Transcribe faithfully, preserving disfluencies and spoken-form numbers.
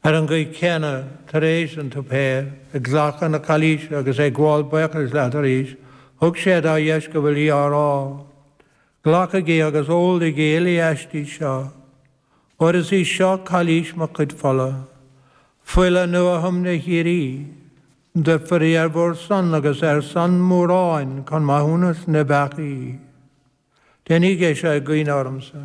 Ar an gcaoi chéanna tar éis an tsuipéir, ag glacadh na cailíse agus ag gabháil buíochais leat arís, thug sé dá dheisceabail í á rá. Glacaigí agus ólaigí uile aisti seo. Óir is í seo cailís mo chuid fola. Fuil an nuathiomna shíoraí. Doirtfear í ar bhur son agus ar son móráin chun maithiúnas na bpeacaí. Déanaigí é seo i gcuimhne ormsa.